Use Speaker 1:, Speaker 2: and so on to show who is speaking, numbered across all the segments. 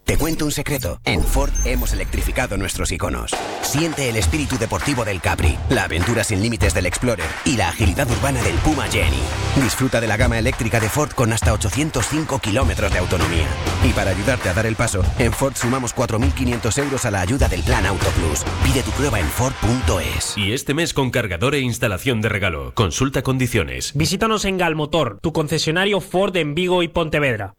Speaker 1: Te cuento un secreto. En Ford hemos electrificado nuestros iconos. Siente el espíritu deportivo del Capri, la aventura sin límites del Explorer y la agilidad urbana del Puma Jenny. Disfruta de la gama eléctrica de Ford con hasta 805 kilómetros de autonomía. Y para ayudarte a dar el paso, en Ford sumamos 4.500 euros a la ayuda del Plan Auto Plus. Pide tu prueba en Ford.es.
Speaker 2: Y este mes con cargador e instalación de regalo. Consulta condiciones.
Speaker 3: Visítanos en Galmotor, tu concesionario Ford en Vigo y Pontevedra.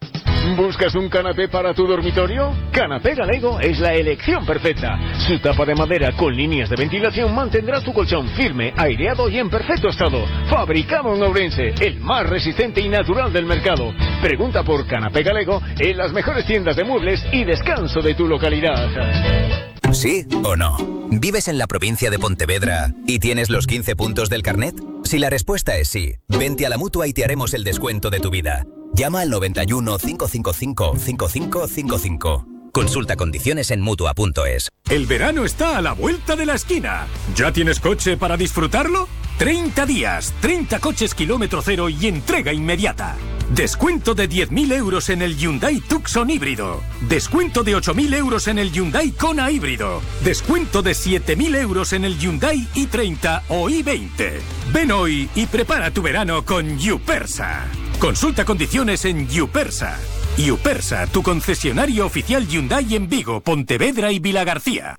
Speaker 4: ¿Buscas un canapé para tu dormitorio? Canapé Galego es la elección perfecta. Su tapa de madera con líneas de ventilación mantendrá tu colchón firme, aireado y en perfecto estado. Fabricado en Ourense, el más resistente y natural del mercado. Pregunta por Canapé Galego en las mejores tiendas de muebles y descanso de tu localidad.
Speaker 5: ¿Sí o no? ¿Vives en la provincia de Pontevedra y tienes los 15 puntos del carnet? Si la respuesta es sí, vente a la Mutua y te haremos el descuento de tu vida. Llama al 91 555 5555. Consulta condiciones en Mutua.es.
Speaker 6: El verano está a la vuelta de la esquina. ¿Ya tienes coche para disfrutarlo? 30 días, 30 coches kilómetro cero y entrega inmediata. Descuento de 10.000 euros en el Hyundai Tucson híbrido. Descuento de 8.000 euros en el Hyundai Kona híbrido. Descuento de 7.000 euros en el Hyundai i30 o i20. Ven hoy y prepara tu verano con Yupersa. Consulta condiciones en Yupersa. Yupersa, tu concesionario oficial Hyundai en Vigo, Pontevedra y Vilagarcía.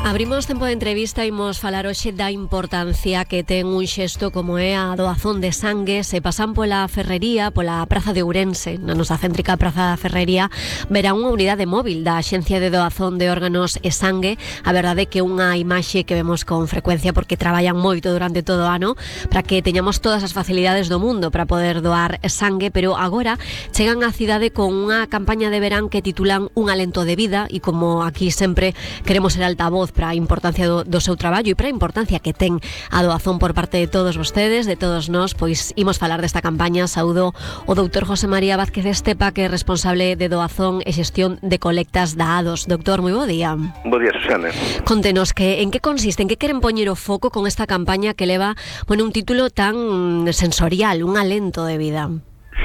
Speaker 7: Abrimos tempo de entrevista e imos falar hoxe da importancia que ten un xesto como é a doazón de sangue. Se pasan pola Ferrería, pola Praza de Ourense, na nosa céntrica Praza da Ferrería, verá unha unidade móvil da Axencia de Doazón de Órganos e Sangue. A verdade é que unha imaxe que vemos con frecuencia porque traballan moito durante todo o ano para que teñamos todas as facilidades do mundo para poder doar sangue, pero agora chegan á cidade con unha campaña de verán que titulan Un alento de vida, e como aquí sempre queremos ser altavoz para a importancia do seu traballo e para a importancia que ten a doazón por parte de todos vostedes, de todos nós, pois imos falar desta campaña. Saúdo o doutor José María Vázquez Estepa, que é responsable de doazón e xestión de colectas da ADOS. Doctor, moi bo día.
Speaker 8: Bo día, Susana.
Speaker 7: Contenos en que consiste, en que queren poñer o foco con esta campaña que leva, un título tan sensorial, un alento de vida.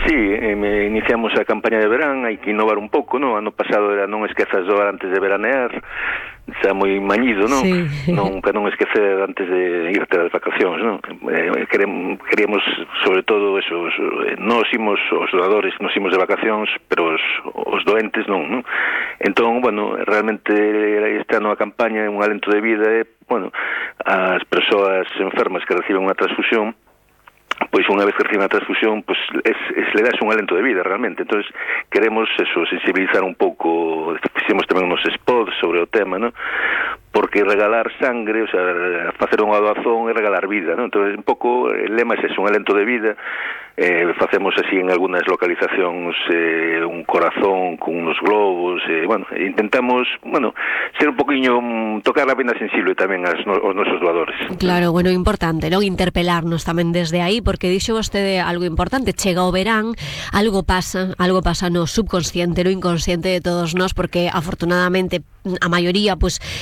Speaker 8: Sí, iniciamos a campaña de verán, hai que innovar un pouco, non? Ano pasado era non esquezas doar antes de veranear, xa moi mañido, non? Sí. Para non esquecer antes de irte ás vacacións, non? Queríamos, sobre todo, eso, nós imos, os doadores, nos imos de vacacións, pero os doentes non? Entón, realmente este ano a campaña é un alento de vida, as persoas enfermas que reciben unha transfusión, pois unha vez que reciben a transfusión, pois le das un alento de vida realmente. Entonces queremos eso, sensibilizar un pouco, fixemos tamén unos spots sobre o tema, ¿no? Porque regalar sangre, o sea, facer unha doazón é regalar vida, ¿no? Entonces un pouco el lema é eso, un alento de vida. Facemos así en algunas localizacións un corazón con unos globos, intentamos, ser un poquinho, tocar a vena sensible tamén aos nosos doadores.
Speaker 7: Claro, importante, non? Interpelarnos tamén desde aí, porque dixo vostede algo importante, chega o verán, algo pasa no subconsciente, no inconsciente de todos nós, porque afortunadamente a maioría,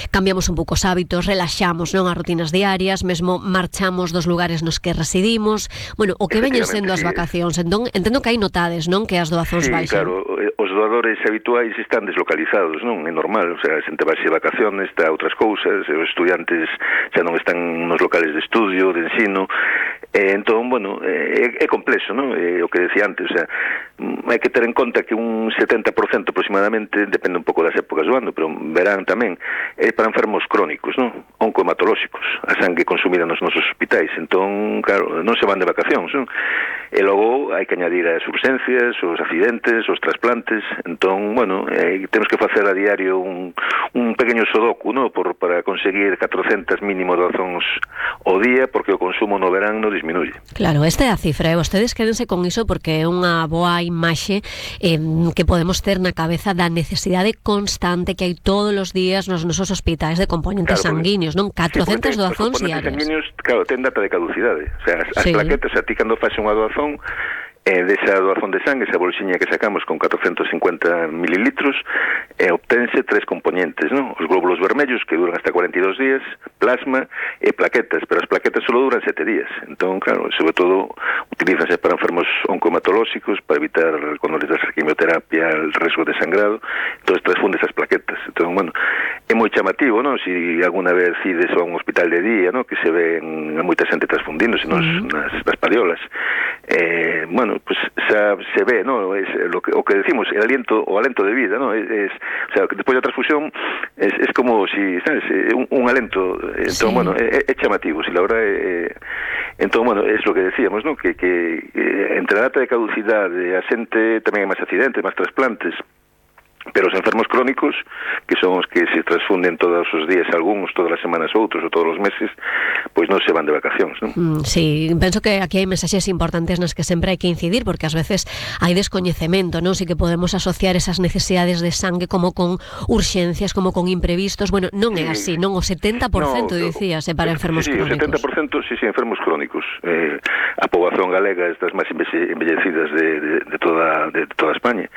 Speaker 7: cambiamos un pouco os hábitos, relaxamos, non, as rutinas diarias, mesmo marchamos dos lugares nos que residimos, o que veñen sendo as vacacións. Entón, entendo que hai notades, non, que as doazóns baixan.
Speaker 8: Claro, os doadores habituais están deslocalizados, non? É normal, o sea, a xente vai de vacaciones, está a outras cousas, os estudiantes xa non están nos locales de estudio, de ensino, entón, é complexo, non? O que decía antes, o sea, hai que ter en conta que un 70% aproximadamente, depende un pouco das épocas do ano, pero verán tamén, é para enfermos crónicos, non? Oncohematolóxicos, a sangue consumida nos nosos hospitais, entón, claro, non se van de vacacións, non? E logo hai que añadir as urgencias, os accidentes, os trasplantes, entón, temos que facer a diario un pequeño sodoku, non? Para conseguir 400 mínimo doazóns ao día, porque o consumo no verán non disminuye.
Speaker 7: Claro, esta é a cifra, vostedes quédense con iso porque é unha boa imaxe que podemos ter na cabeza da necesidade constante que hai todos os días nos nosos hospitais de componentes sanguíneos, non? 400 doazóns diarias.
Speaker 8: Os componentes sanguíneos, claro, ten data de caducidade. O sea, as plaquetas, a ti cando faz unha doazón, desa doazón de sangue, esa bolsiña que sacamos con 450 mililitros, obtense 3 componentes, ¿no? Os glóbulos vermellos, que duran hasta 42 días, plasma e plaquetas, pero as plaquetas solo duran 7 días. Entón, claro, sobre todo utilízanse para enfermos oncohematolóxicos, para evitar, cuando les das a quimioterapia, el riesgo de sangrado. Entonces transfunde esas plaquetas. Entón, bueno, é moi chamativo, ¿no? Si alguna vez ides a un hospital de día, ¿no? Que se ven a moita xente transfundíndose nas padiolas. Bueno, pues se ve, ¿no? Es o que decimos, o alento de vida, ¿no? O sea, que despois da transfusión es como si, ¿sabes? Un alento. Entón, sí. Bueno, é chamativo, si la verdad entón, bueno, es lo que decíamos, ¿no? Que entre a data de caducidade, a xente tamén hai máis accidentes, máis trasplantes, pero os enfermos crónicos, que son os que se transfunden todos os días algúns, todas as semanas outros, ou todos os meses, pois non se van de vacacións, non?
Speaker 7: Sí, penso que aquí hai mensaxes importantes nas que sempre hai que incidir, porque ás veces hai descoñecemento, non? Si que podemos asociar esas necesidades de sangue como con urxencias, como con imprevistos. Bueno, non é así, non? O 70% dicíase para enfermos crónicos.
Speaker 8: O 70% sí, enfermos crónicos. A poboación galega é das máis embellecidas de toda España.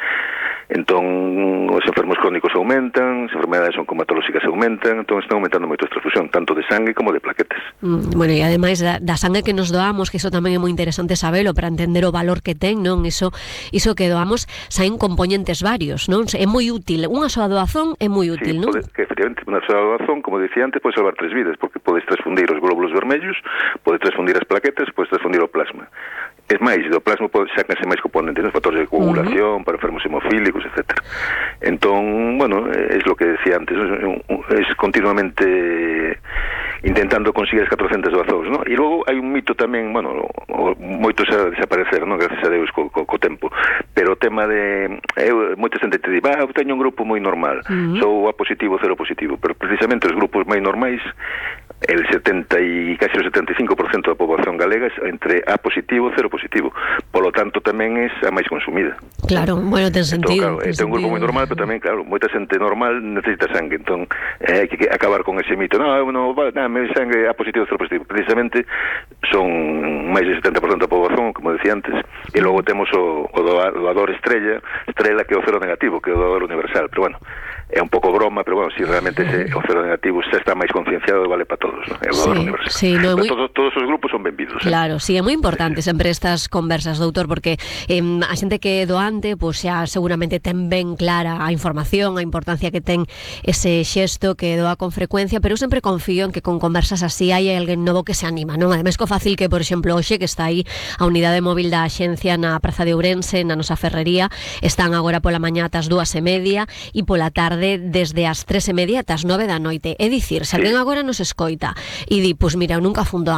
Speaker 8: Entón, os enfermos crónicos aumentan, as enfermedades oncohematolóxicas aumentan, entón están aumentando moito a transfusión, tanto de sangue como de plaquetas.
Speaker 7: Bueno, e ademais da sangue que nos doamos, que iso tamén é moi interesante sabelo para entender o valor que ten, non? Iso que doamos saen componentes varios, non? É moi útil, unha soa doazón é moi útil, non?
Speaker 8: Que efectivamente, unha soa doazón, como dicía antes, pode salvar 3 vidas, porque podes transfundir os glóbulos vermellos, podes transfundir as plaquetas, podes transfundir o plasma. Es máis, do plasma sácanse máis componentes, ¿no? Factores de coagulación, para enfermos hemofílicos, etc. Entón, bueno, es lo que decía antes, es continuamente intentando conseguir as 400 doazóns, ¿no? E logo hai un mito tamén, bueno, moitos a desaparecer, ¿no? Gracias a Deus co tempo, pero o tema de moita xente te di, eu teño un grupo moi normal, sou A positivo, cero positivo, pero precisamente os grupos máis normais, el 70 e casi o 75% da poboación galega é entre A positivo e cero positivo. Polo tanto, tamén é a máis consumida.
Speaker 7: Claro, bueno, ten sentido.
Speaker 8: Entón, claro, ten un grupo moi normal, pero tamén, claro, moita xente normal necesita sangue. Entón, hai que acabar con ese mito. Me sangue A positivo e cero positivo. Precisamente son máis del 70% da poboación, como decía antes, e logo temos o doador estrela, que é o cero negativo, que é o doador universal. Pero bueno, é un pouco broma, pero bueno, si realmente o cero negativo xa está máis concienciado, vale para todos, ¿no? É o doador universal.
Speaker 7: Sí, no,
Speaker 8: todos os grupos son benvidos.
Speaker 7: Claro, sí, é moi importante sempre estas conversas, doutor, porque a xente que é doante, pois xa seguramente ten ben clara a información, a importancia que ten ese xesto que doa con frecuencia, pero eu sempre confío en que con conversas así hai alguén novo que se anima, non? Ademais, co fácil que, por exemplo, hoxe que está aí a unidade móvil da Axencia na Praza de Ourense, na nosa ferrería, están agora pola mañá ás 2:30 e pola tarde desde as 3:30 ás 9 da noite. É dicir, se alguén agora nos escoita e di, pois mira, eu nunca fundo